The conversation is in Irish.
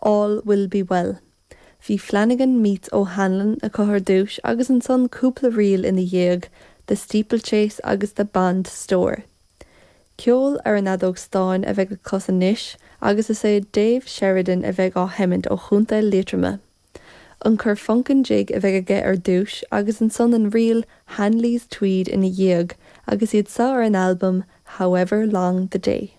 All Will Be Well. Bhí Flanagan Meets O'Hanlon acu ar dtús agus ansan cúpla ríl ina dhiaidh, The Steeplechase agus The Bond Store. Ceol ar an fheadóg stáin a bheidh le clos anois agus is é Dave Sheridan a bheidh á sheimint ó Chontae Liatroma. An Corfunkin Jig a bheidh aige ar dtús agus ansan an ríl Hanley's Tweed ina dhiaidh agus iad seo ar an albam However Long the Day.